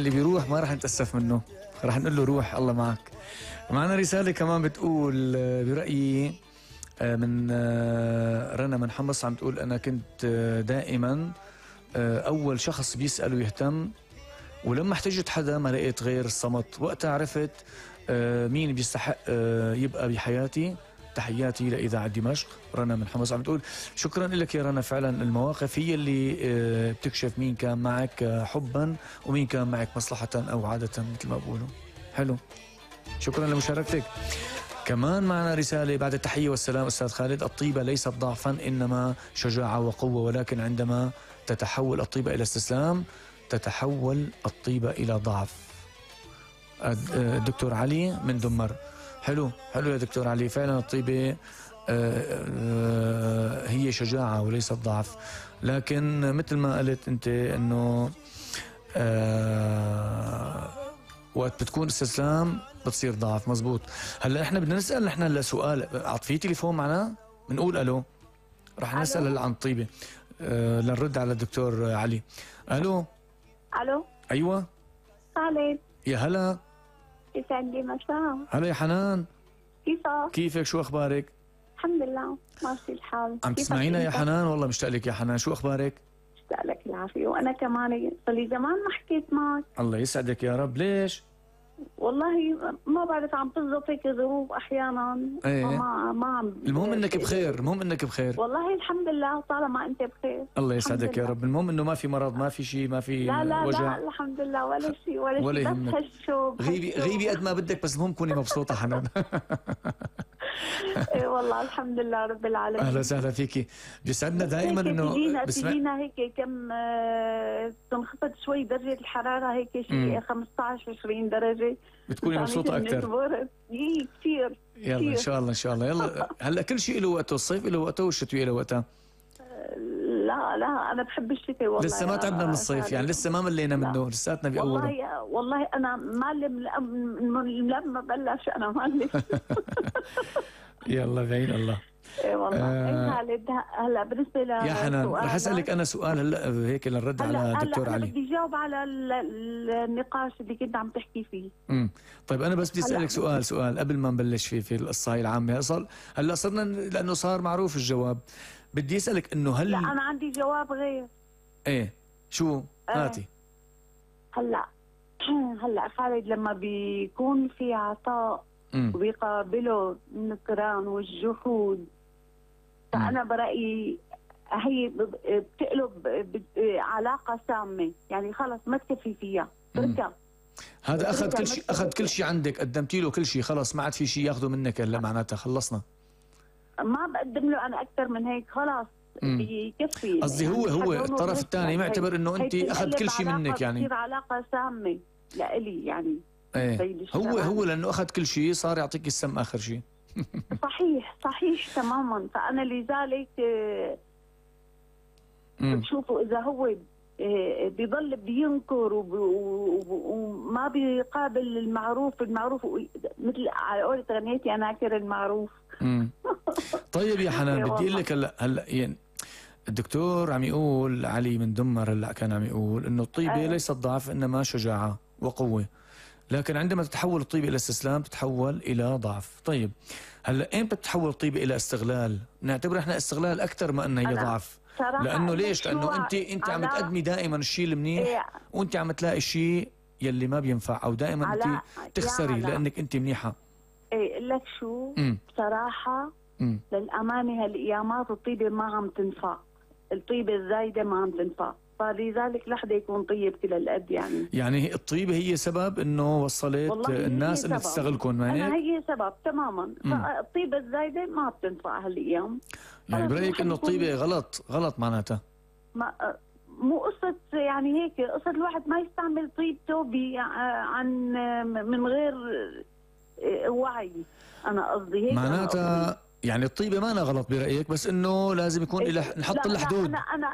اللي بيروح ما رح نتأسف منه، رح نقول له روح الله معك. معنا رسالة كمان بتقول برأيي من رنا من حمص، عم تقول أنا كنت دائما أول شخص بيسأل ويهتم، ولما احتجت حدا ما لقيت غير الصمت. وقتها عرفت مين بيستحق يبقى بحياتي. تحياتي لإذاعة دمشق. رنا من حمص عم تقول شكرا لك يا رنا، فعلا المواقف هي اللي بتكشف مين كان معك حبا ومين كان معك مصلحة أو عادة مثل ما بقولوا. حلو، شكرا لمشاركتك. كمان معنا رسالة بعد التحية والسلام أستاذ خالد: الطيبة ليست ضعفا إنما شجاعة وقوة، ولكن عندما تتحول الطيبة إلى استسلام تتحول الطيبة إلى ضعف. الدكتور علي من دمر. حلو يا دكتور علي، فعلا الطيبة هي شجاعة وليست ضعف، لكن مثل ما قلت أنت أنه وقت بتكون استسلام بتصير ضعف. مزبوط. هلا احنا بدنا نسأل نحن هلا سؤال، في تليفون معنا بنقول ألو، رح نسأل هلا عن الطيبة لنرد على الدكتور علي. ألو. أيوة خالد. يا هلا. يسعد لي مساء. هلا يا حنان، كيفك؟ شو أخبارك؟ الحمد لله ماشي الحال. عم تسمعينا يا حنان؟ والله مشتاق لك يا حنان، شو أخبارك؟ مشتاق لك العافية، وأنا كمان صار لي زمان ما حكيت معك. الله يسعدك يا رب. ليش؟ والله ما بعرف، عم تظبط هيك ظروف أحيانا. ايه ما عم. المهم إنك بخير، المهم إنك بخير. والله الحمد لله طالما أنت بخير. الله يسعدك يا رب. المهم إنه ما في مرض، ما في شيء، ما في لا وجع. لا الحمد لله ولا شيء بس هالشوق. غيبي قد ما بدك، بس المهم كوني مبسوطة حنان. ايه والله الحمد لله رب العالمين. اهلا وسهلا فيكي، بيسعدنا دائما انه تجينا هيك كم تنخفض شوي درجة الحرارة، هيك شيء 15-20 درجة بتكوني مبسوطة أكثر. كثير. يلا إن شاء الله إن شاء الله. يلا هلا كل شيء له وقته، الصيف له وقته والشتوية له وقتها. لا أنا بحب الشتاء والله. لسه ما تعبنا من الصيف يعني، لسه ما ملينا منه، لساتنا بأوله. والله أنا مالم لما بلش أنا مالم. يلا بعين الله. ايه والله. خالد هلا بالنسبه يا حنان رح اسالك انا سؤال هلا هيك لنرد على دكتور علي. بدي جاوب على النقاش اللي كنت عم تحكي فيه. طيب انا بس بدي اسالك سؤال قبل ما نبلش في القصه هاي العامه. هلا صرنا لانه صار معروف الجواب، بدي اسالك انه هل لا انا عندي جواب غير. ايه شو؟ هاتي. هلا خالد لما بيكون في عطاء وبيقابله النكران والجحود، فأنا برأيي هي بتقلب علاقة سامة، يعني خلص ما تكفي فيها تركها. هذا أخذ كل شيء عندك، قدمتي له كل شيء، خلص ما عاد في شيء ياخذه منك هلا، معناتها خلصنا. ما بقدم له أنا أكثر من هيك، خلاص بيكفي. قصدي هو الطرف الثاني معتبر إنه أنت أخذ كل شيء منك، يعني بتصير علاقة سامة لإلي يعني. ايه هو لانه اخذ كل شيء صار يعطيك السم اخر شيء. صحيح تماما. فانا لذلك بشوفه اذا هو بيضل بينكر وما بيقابل المعروف مثل على قولة غنيتي انا اكر المعروف. طيب يا حنان بدي اقول لك هلا يعني الدكتور عم يقول علي من دمر هلا كان عم يقول انه الطيبه ليست ضعف انما شجاعه وقوه، لكن عندما تتحول الطيبة إلى استسلام تتحول إلى ضعف. طيب هلا إمتى بتتحول الطيبة إلى استغلال؟ نعتبر إحنا استغلال أكثر ما أنها هي ضعف. لأنه ليش؟ لأنه أنت عم تقدمي دائما الشيء المنيح وأنت عم تلاقي الشيء يلي ما بينفع، أو دائما أنت تخسري لأنك أنت منيحة. إيه لك شو؟ بصراحة للأمانة هالأيامات الطيبة ما عم تنفع، الطيبة الزايدة ما عم تنفع، فلذلك لحظة يكون طيب كل القد يعني الطيبة هي سبب انه وصلت الناس انها تستغلكم، ما هيك؟ هي سبب تماما. فالطيبة الزايدة ما بتنفع هالايام. يعني برأيك انه الطيبة غلط معناتها؟ مو قصة يعني هيك، قصة الواحد ما يستعمل طيبته عن من غير وعي. انا قصدي هيك معناتها يعني الطيبة ما أنا غلط برأيك، بس انه لازم يكون نحط لها حدود. انا